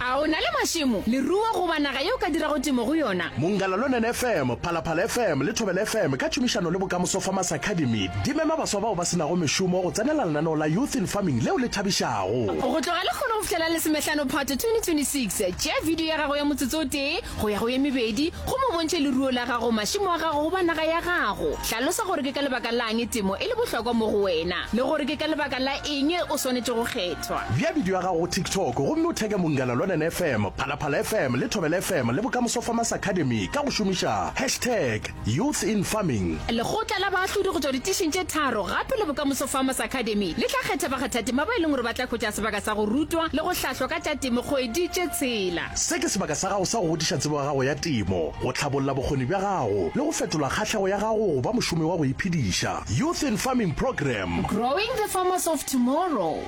A o na le mašemo, leruo goba naga ye o ka dirago temo go yona? Mongala Lonene FM, Phalaphala FM le Thobela FM ka tšhomišano le Bokamoso Farmers Academy di mema baswa bao ba se nago mešomo go tsenela lenaneo la Youth in Farming leo le thabišago. Go tloga lekgono go fihlela lesomehlano Phato 2026, tšea video ya gago ya motsotso o tee go ya go ye mebedi gomme o bontšhe leruo la gago, mašemo a gago goba naga ya gago. Hlalosa gore ke ka lebaka la'ng temo e le bohlokwa mo go wena le gore ke ka lebaka la eng o swanetše go kgethwa. Bea bidio ya gago go TikTok gomme o theke Munghana Lonene FM, Phalaphala FM le Thobela FM le Bokamoso Farmers Academy ka go šomiša hashtag YouthInFarming. Lekgotla la baahlodi go tšwa ditišing tše tharo gape le Bokamoso Farmers Academy le tla kgetha bakgathatema ba e leng gore ba tla hwetša sebaka sa go rutwa le go hlahlwa ka tša temo kgwedi tše tshela. Se ke sebaka sa gago sa go godiša tsebo ya gago ya temo, go hlabolla bokgoni bja gago le go fetola kgahlego ya gago go ba mošomi wa go iphediša. Youth in Farming Programme. Growing the farmers of tomorrow.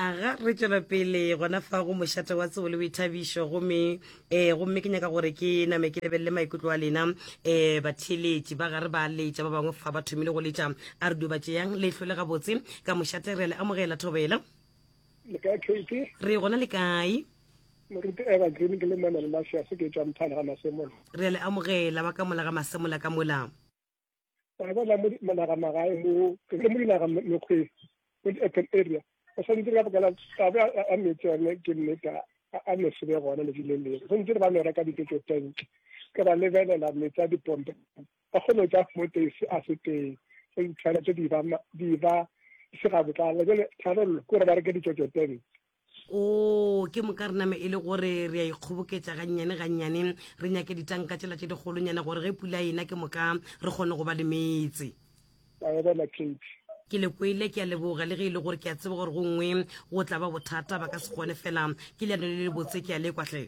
Aga, re tšwela pele gona fa go mošate wa tsebo le boithabišo gomme um gomme ke nyaka gore ke name ke lebelele maikutlo a lena um batheeletši ba gare ba letša ba bangwe fa ba thomile go letša a re dio ba tšeyang leihlo le gabotse ka mošate re a le amogela thobela Le kae KT? Re gona le kae? Moruti Eva Green ke le Manuel Masiase ke tšwa Mthane ga Masemola. Re a le amogela ba ka mola ga Masemola ka mola. Wa bona mo dinaga magae mo ke le mo dinaga mekgweng mo di-urban area o santse ka baka la taba ya metsi yone ke nnete a no se be gona letši le lengwe santse re ba no reka dijojo tank ke ba lebelela metsi a dipompe ba kgone go tša mo teng a se teng ditshwanetse di ba di ba se ga botlalo jale tharollo ke gore ba reke dijojo tank o ke moka re name e le gore re a ikgoboketša gannyane gannyane re nyake ditanka tšela tše dikgolonyana gore ge pula ena ke moka re kgone go ba le meetse ke le kwele ke a leboga le ge e le gore ke a tseba gore gongwe go tla ba bothata ba ka se kgone fela ke leano le le botse ke a lekwa hle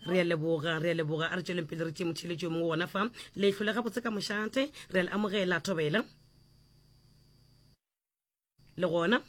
re a leboga re a leboga a re tšweleng pele re tšee motšheletši yo mongwe gona fa leihlo le gabotse ka mošate re a le amogela thobela le gona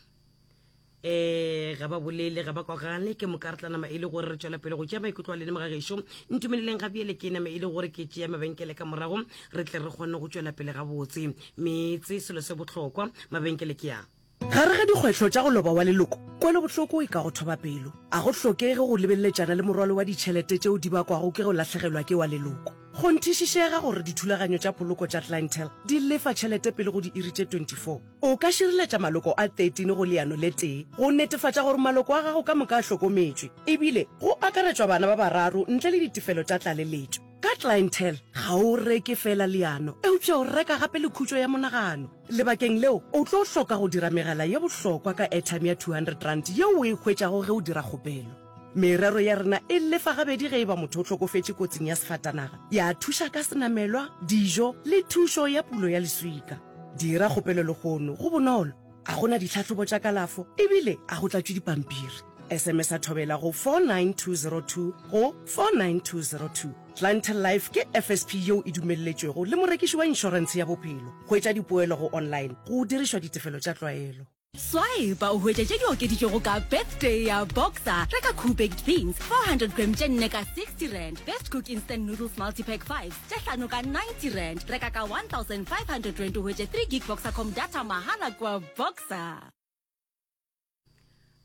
eh ga ba bolele ga ba kwagale ke moka re tla nama e le gore re tšwela pele go tšea maikutlo a lene mogagešo ntumeleleng ga bjele ke nama e le gore ke tšea mabenkele ka morago re tle re kgone go tšwela pele gabotse meetse selo se bohlokwa mabenkele ke a Gare ga dikgwetlho tša go loba wa leloko, kwelobohloko e ka go thoba pelo. A go hlokege go lebeleletšana le morwalo wa ditšhelete tšeo di bakwago ke go lahlegelwa ke wa leloko. Kgonthišišega gore dithulaganyo tša poloko tša Clientele di lefa tšhelete pele go diiri tše 24. O ka šireletša maloko a 13 go leano le tee go netefatša gore maloko a gago ka moka a hlokometšwe, ebile go akaretšwa bana ba bararo ntle le ditefelo tša tlaleletšo. Ka Clientele, ga o reke feela leano, eupša o reka gape le khutšo ya monagano. Lebakeng leo, o tlo hloka go dira megala ye bohlokwa ka airtime ya R200 yeo o e hwetšago ge o dira kgopelo. Merero ya rena e lefa gabedi ge e ba motho o hlokofetše kotsing ya sefatanaga, ya thuša ka senamelwa, dijo le thušo ya pulo ya leswika. Dira kgopelo lehono, go bonolo, ga go na ditlhahlobo tša kalafo ebile ga go tlatšwe dipampiri. SMS-a Thobela go 49202 go 49202. Clientele Life ke FSP yeo e dumelletšwego le morekiši wa inšorentshe ya bophelo. Hwetša dipoelo go online go dirišwa ditefelo tša tlwaelo. Swipe o hwetše tše di okeditšwego ka Birthday ya Boxer. Reka Koo Baked Beans 400 gram tše nne ka R60, Best Cook Instant Noodles Multipack 5 tše hlano ka R90. Reka ka R1500 o hwetše 3 gig Boxercom data mahala kua Boxer.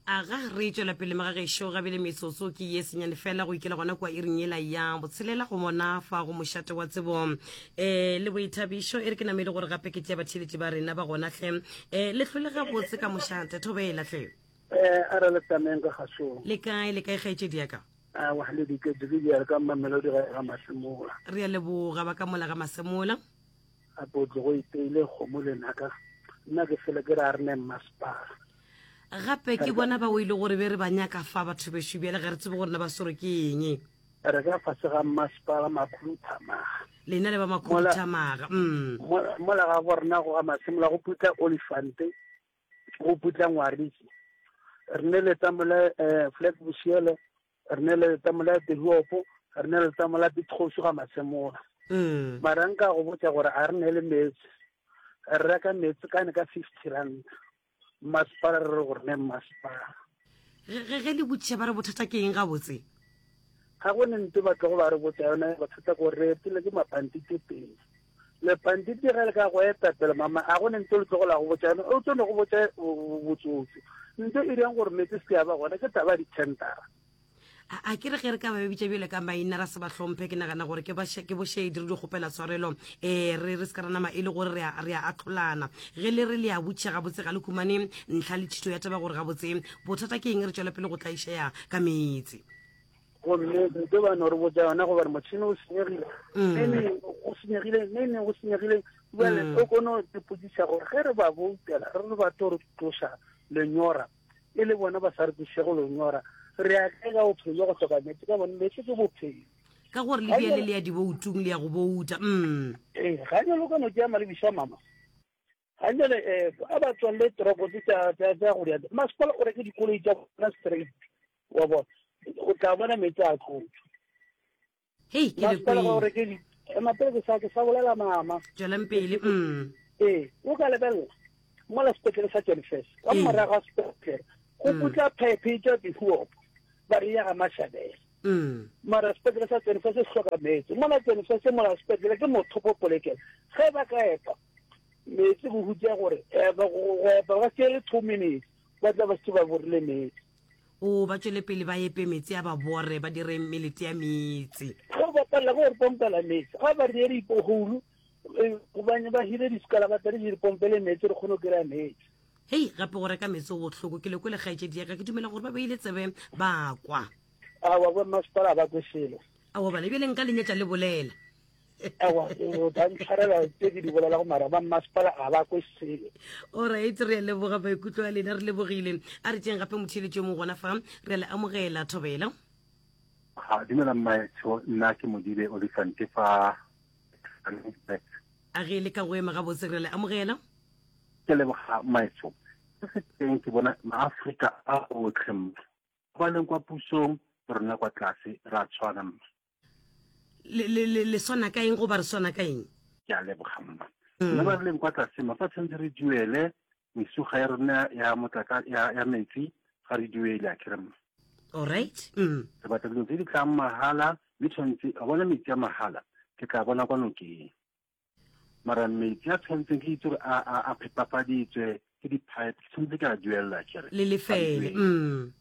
Aga re tšwela pele magagešo gabele metsotso ke ye senyane fela go ikela gona kua iring yela ya botshelela go mona fa go mošate wa tsebo um le boithabišo e re ke namele gore gape ke tšea batheeletši ba rena ba gona hle um le hlole gabotse ka mošate thobela hle um a re le tameng ka gasong le kae le kae kgaetšedi ya ka awa le diketse ke di ka mamelodi ga ga masemola re a leboga ba ka mola ga masemola gape o tlogo iteile kgomo le naka nna ke fele ke re a re ne mmasepala Gape ke bona ba o ile gore be re ba nyaka fa batho bešo bjale ga re tsebe gore na ba swerwe ke eng. Re ka fase ga mmasepala Makhuduthamaga. Lena le ba Makhuduthamaga. Mm. Mola ga bo rena go ga Masemola go putla Olifante, go putla Ngwarisi. Re ne le tamola eh, Flag Bosiele, re ne le tamola Tehuopo, re ne le tamola Pitgosu ga Masemola. Mm. Mara nka go botša gore a re ne le meetse. Re reka meetse kane ka 50 rand. Mmasepala re re gore ne mmasepala. Ge ge le botšiša ba re bothata ke eng gabotse? Ga go ne nto ba tlogo ba re botša yona bothata ko re etile ke mapantiti pele. Lepantiti ge le ka go eta pele mama a go ne nto le tlogo la go botša yona o tlo no go botša botsotso. Nto e dirang gore meetse se ke ya ba gona ke taba ya dithendara. A ke re ge re ka ba bitša bjale ka maina ra se ba hlomphe, ke nagana gore ke ke bošedi re di kgopela tshwarelo um re re se ka ra nama e le gore re a ahlolana. Ge le re le a botšiša gabotse ga le humane ntlha le thito ya taba gore gabotse bothata ke eng re tšwela pele go tlaišega ka meetse. Gomme nto ba no re botša yona gobane motšhene o senyegile, mm. nene o senyegile, nene o senyegile. Bjale mm. o kono ipotšiša gore ge re ba boutela re re ba tlo re tloša lenyora e le bona ba sa re kwešego lenyora, re ya kae ka bophelo bja go hloka meetse? Ka bone meetse ke bophelo. Ka gore le bjale le ya diboutung le ya go bouta. Mm. Ee, ga jalo ka no tšea malebiša mama. Ga jale um a ba tswalele toropo tse tša go dia masepala o reke dikoloi tša bona straight wa bona o tla bona meetse a tlotšwa. Hei, ke le Masepala ga o reke di ema pele ke sa ke sa bolela mama. Tšwelang pele. Mm. Ee, o ka lebelela mola sepetlele sa Jenfes ka mm. morago ga sepetlele go mm. putla phephe e tšwa dihuopo ba re ya ga Mashabela. Mm. Mara sepetlele sa Jenfes se hloka meetse mola Jenfes mola sepetlele ke mothopo polekelo ge ba ka epa meetse go hutša gore epa go epa ba se le 2 minutes ba tla ba se ba borile meetse. O ba tšwele pele ba epe meetse a ba bore, ba dire melete ya meetse. Ge ba palela ke go re pompela meetse, ga ba re ye dipoholu, gobane ba hire disekalabatari di re pompele meetse re kgone go kry-a meetse. Hei, gape go reka meetse go bohloko. Ke le kwele kgaetšedi ya ka, ke dumela gore ba beile tsebe ba kwa. Aowa, bo mmasepala ga ba kwe selo. Aowa bana, bjale nka le nyetša le bolela. Aowa, o tla ntshwarela tse ke di bolelago mara ba mmasepala ga ba kwe selo. Alright, re a leboga maikutlo a lena, re lebogile. A re tšeng gape motheeletši yo mongwe gona fa, re a le amogela. Thobela. Ha, dumela mmaetsho, nna ke Modibe Olifant fa A ge le ka go ema gabotse, re le amogela. Ke leboga mmaetsho. Se se teng ke bona maAfrika a otlhe mma. Ba leng kwa pusong le rona kwa tlase ra tshwana mma. Le, le, le, le swana ka eng goba re swana ka eng? Ke a leboga mma. Nna ba re leng kwa tlase mma, fa tshwanetse re duele mesuga ya rona ya motlaka ya, ya metsi ga re duele a kere mma. Alright. Mm. Re batla dilo tse di tlang mahala mme tshwanetse a bona metsi a mahala ke tla bona kwa nokeng. Mara metsi a tshwanetseng ke itse gore a, a, a phepafaditswe ke di-pipe ke tshwanetse ke a duelela kere. Le lefele. Mm.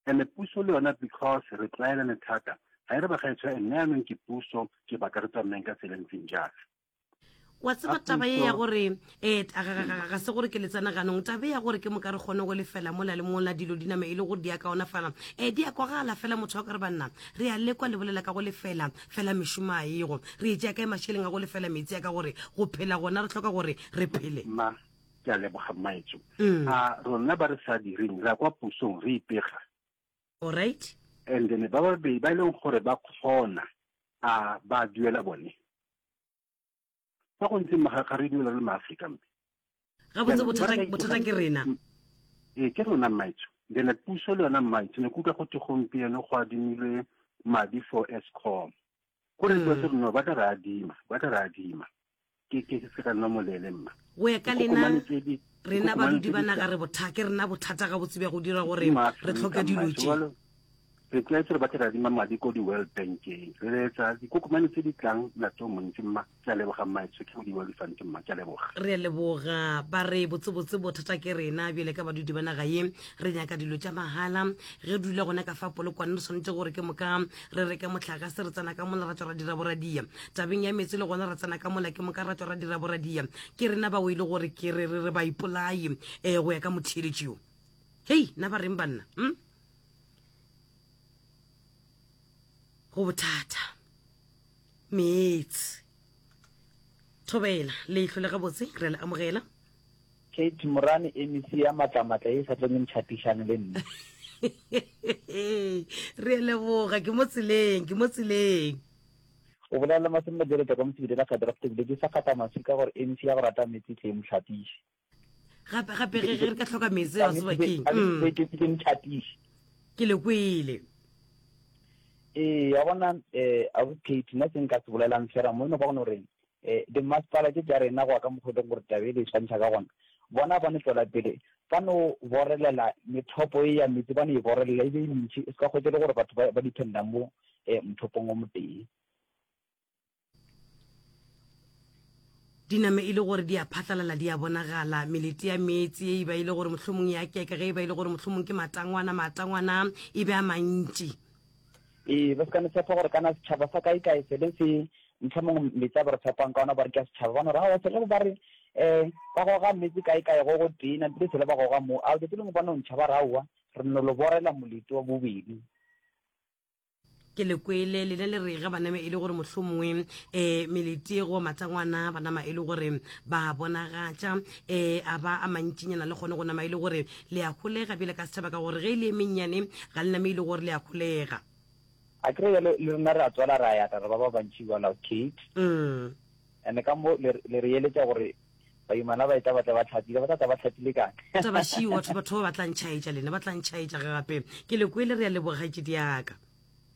And puso le yona because re tlwaelane thata ga e re bagaetsho nna yanong ke puso ke batla re tsamayeng ka tsela e ntseng jaana. Wa tseba taba ye ya gore um ga se gore ke le tsena ganong taba ya gore ke moka re kgone go lefela mola le mola dilo di name e le gore di a kaonafala um di a kwagala fela motho wa ka re banna re a lekwa le bolela ka go lefela fela mešomo a ego re e tšea kae mašeleng a go lefela metsi a ka gore go phela gona re hloka gore re phele. Mma Ke a leboga mmaetsho. Mm. A rona ba re sa direng ra kwa pusong re ipega. Alright. And then ba babedi ba e leng gore ba kgona a ba duela bone. Fa go ntse ga ga re duela le maAfrika mme. Gabotse bothata bothata ke rena. Mm. Ee ke rona mmaetsho. Then puso le yona mmaetsho ne kutlwa go te gompieno go adimilwe madi for Eskom. Go re mm. re no ba tla re adima, ba tla re adima. Ke ke se ka nna molele mma. Go ya ka lena rena badudi ba naga re botha ke rena bothata ga botse bja go dira gore re tlhoke dilo tše. Re tlwaetse re batla re adima madi ko di-World Bankeng. Re etsa dikokomane tse di tlang molato o montsi mma. Ke a leboga mmaetsho ke Modimo wa Olifant mma ke a leboga. Re a leboga ba re botsebotse bothata ke rena bjale ka badudi ba naga ye re nyaka dilo tša mahala ge re dula gona ka fa Polokwane re swanetše gore ke moka re reke mohlagase re tsena ka mola ra tšwa ra dira boradia tabeng ya meetse le gona ra tsena ka mola ke moka ra tšwa ra dira boradia ke rena bao e le gore ke re re re baipolai um go ya ka motheeletši yo hei na ba reng banna hm? go bothata meetse thobela leihlo le gabotse re le amogela Kate Morane, MEC ya matlamatla ye e sa tlong e ntšhatišane le nna. Re a leboga, ke mo tseleng, ke mo tseleng. O bolela le Masome Majeleta kwa Mosebedi la Gadraft ebile ke sa gata maswika gore MEC ya go rata meetse e tle e mo hlatiše. Gape gape ge ge re ka hloka meetse wa tseba keng? Mm. Ke ke ntšhatiše. Ke le kwele. Ee, wa bona eh Ausi Kate, nna se nka se bolelang fela mo e no ba gone gore Eh, dimmasepala tše tša rena go ya ka mokgwa e leng gore taba e le e swantšha ka gona, bona ba no tšwela pele ba no borelela methopo e ya meetse, ba no e borelela e be e mentši, e se ka hwetša e le gore batho ba, ba dependa mo eh, mothopong o motee. Di name e le gore di a phatlalala, di a bonagala. Melete ya meetse e ba e le gore mohlomong ya keka, ge e ba e le gore mohlomong ke matangwana, matangwana e be a mantši. Ee, ba se ka no tshepa gore kana setšhaba sa kae kae sele se mohlomong meetse a ba re tshepang ka ona ba re ke a setšhaba, ba no re aowa sele ba re um ba goga meetse kae kae go go tee napile sele ba goga mo, a tšatši lengwe ba no ntšha ba re aowa re no lo borela molete wa bobedi. Ke le kwele lena le re ge ba nama e le gore mohlomongwe um melete goba matangwana ba nama e le gore ba bonagatša um a ba a mantšinyana le kgone go nama e le gore le a holega bjale ka setšhaba ka gore ge e le e mennyane ga le name e le gore le a holega. A kere bjale le rena re a tswala ra yata re ba ba bantši bjalo Kate. Mm. And ka mo le le re eletša gore baimana ba etla ba tla ba tlhapile ba tla tla ba tlhapile kang. Taba šiu batho batho ba ba tla ntšhaetša lena ba tla ntšhaetša gape. Ke le kwele re a leboga kgaetšedi yaka.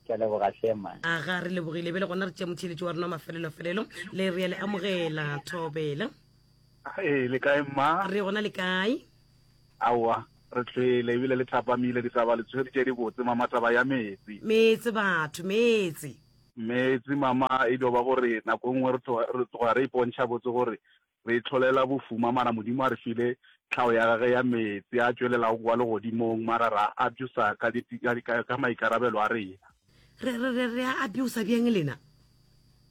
Ke a leboga hle man. Aga re lebogile bjale gona re tšea motheeletši wa rena wa mafelelo-felelo le re a le amogela Thobela. Ee, le kae mma? Re gona le kae? Aowa, re tlwele ebile le thapamile ditaba le tshwere tše dibotse mama taba ya meetse. Meetse batho, meetse. Meetse mama e dio ba gore nako e nngwe re tloga re tloga re ipontšha botse gore re itlholela bofuma mara Modimo a re file tlhago ya gage ya meetse a tšwelelago kwa legodimong mara ra abusa ka di ka ka maikarabelo a rena. Re re re re a abusa bjang lena?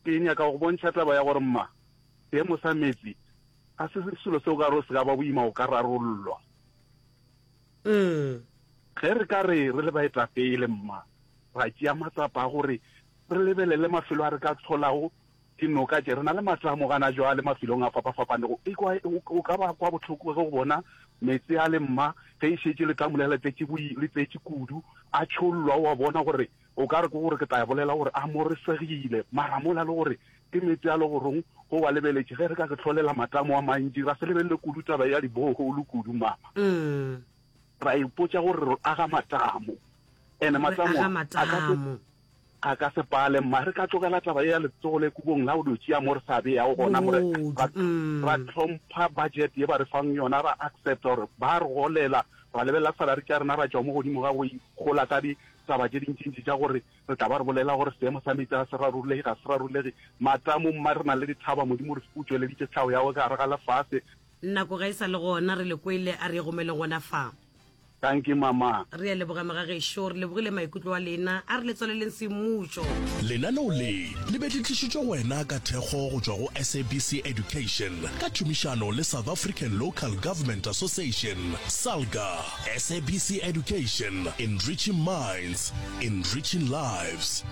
Ke nyaka go bontšha taba ya gore mma seemo sa meetse ga se selo se o ka re se ka ba boima go ka rarollwa. Mm. Ge re ka re re le baetapele mma ra tšea matsapa a gore re lebelele mafelo a re ka hlolago dinoka tše. Re na le matamo gana jwale mafelong a fapafapanego. Ekwa o ka ba kwa bohloko ge o bona meetse a le mma ge e šetše letamo lela le tletše le tletše kudu a tšhollwa, o a bona gore o ka re ke gore ke tla bolela gore a moresegile mara mola le gore ke meetse a le gorong go wa lebeletše ge re ka re hlolela matamo a mantši ra se lebelele kudu taba ya di-borehole kudu mama. Ra ipotša gore re aga matamo ene matamo aga matamo. A ka se pale mma re ka tlogela taba ye ya letsogo le kubong la go dio tšea mo re sa beyago gona mo re ra ra hlompha budget ye ba re fang yona ra accepta gore ba re golela ra lebelela salary tša rena ra tšwa mo godimo ga go ikgola ka ditaba tše dintšintši tša gore re tla ba re bolela gore seemo sa meetse ga se rarollege ga se rarollege matamo mma re na le dithaba Modimo re o tšweleditše tlhago ya gagwe ka gare ga lefase. Nako ga e sa le gona re le kwele a re e gomeleng gona fa. Dankie mama. Re a leboga mogagešo, re lebogile maikutlo a lena. A re le tswaleleng semmušo. Lenaneo le le be le tlišitšwe go wena ka thekgo go tšwa go SABC Education ka tšhomišano le South African Local Government Association, SALGA. SABC Education, enriching minds, enriching lives.